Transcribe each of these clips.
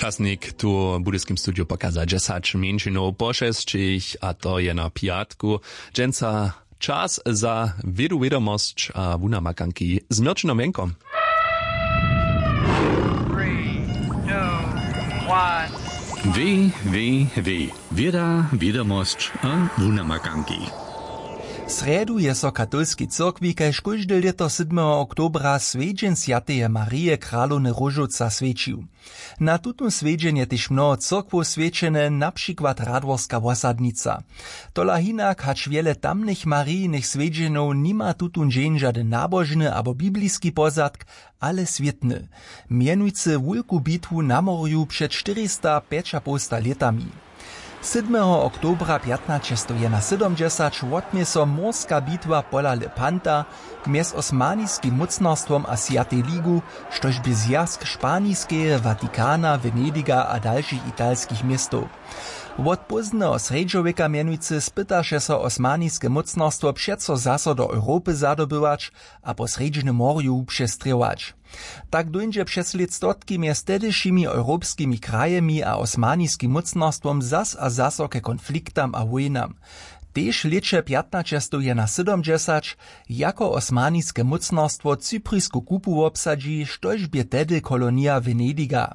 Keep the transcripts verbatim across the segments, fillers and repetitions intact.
Pasnik tu w budyskim studiju pokaza dźesać mjeńšinow po šesćich, a to je na pjatku. Dźensa čas za wědu, wědomosć a wunamakanki z Měrćinom Jenkom. Www, wěda, wědomosć a wunamakanki. Srjedu je so w katolskej cyrkwi kaž kóžde lěto sydmeho oktobra swjedźeń swjateje Marije, kralowny Róžowca, swjećił. Na tutón swjedźeń je tež mnoho cyrkwow swjećene, na přikład Radworska wosadnica. Tola hinak, hač wjele tamnych Marijinych swjedźenjow, nima tutón dźeń žadyn nabožny abo bibliski pozadk, ale swětny. Mjenujcy wulku bitwu na morju před štyristapjećapołsta lětami. Sydmeho oktobra pjatnaćestowjenasydomdźesać wotmě so morska bitwa pola Lepanta mjez osmaniskim mócnarstwom a Swjatej ligu, štož bě zwjazk Španiskeje Watikana, Venediga a dalšich italskich městow. Wot pózdneho srjedźowjeka mjenujcy spytaše so osmaniske mócnarstwo přeco zaso do Europy zadobywać a po Srjedźnym morju wupřestrěwać. Tak dóńdźe přez lětstotki mjez tehdyšimi europskimi krajemi a osmaniskim mócnarstwom zas a zaso ke konfliktam a wójnam. Tež w lěće pjatnaćestowjenasydomdźesać jako osmaniske mócnarstwo cyprisku kupu wobsadźi, štož bě tehdy kolonija Venediga.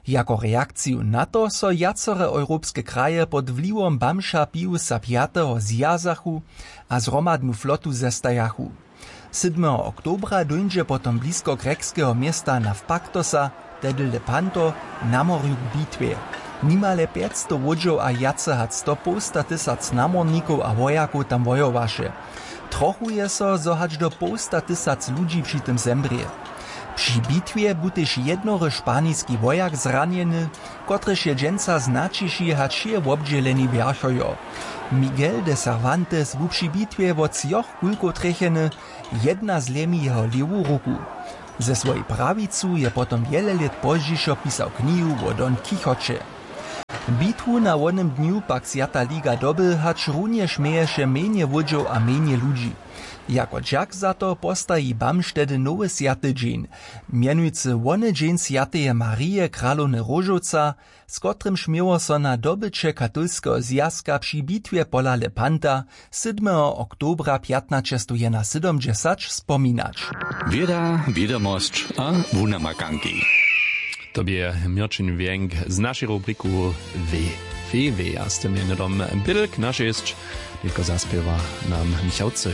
Jako reakciju na to so wjacore europske kraje pod wliwom bamža Piusa pjateho zwjazachu a zhromadnu flotu zestajachu. Sydmeho oktobra dóńdźe potom blisko grekskeho města Nafpaktosa, tehdy Lepanto, na morju k bitwje. Nimale pjećstow łódźow a wjace hač sto połsta tysac namornikow a wojakow tam wojowaše. Trochuje so, zo hač do połsta tysac ludźi při tym zemrě. Při bitwje bu tež jednory španiski wojak zranjeny, kotryž je dźensa znaćiši hač je wobdźěleni wjerchojo. Miguel de Cervantes bu při bitwje wot třoch kulkow trjecheny, jedna zlemi jeho lěwu ruku. Ze swojej prawicu je potom wjele lět pozdźišo pisał knihu wo Don Quichoće. Bitwu na wonym dnju pak Swjata liga doby, hač runjež měješe mjenje łódźow a mjenje ludźi. Jako dźak za to postaji bamž tehdy nowy swjaty dźeń, mjenujcy wony dźeń swjateje Marije, kralowny Róžowca, z kotrymž měło so na dobyće katolskeho zwjazka při bitwje pola Lepanta sydmeho oktobra pjatnaćestowjenasydomdźesać spominać. Wěda, wědomosć a wunamakanki. To bě Měrćin Wjenk z našej rubriku W W W, a z tym je hnydom bydl k našesć, nětko zaspěwa nam Michał Cyr.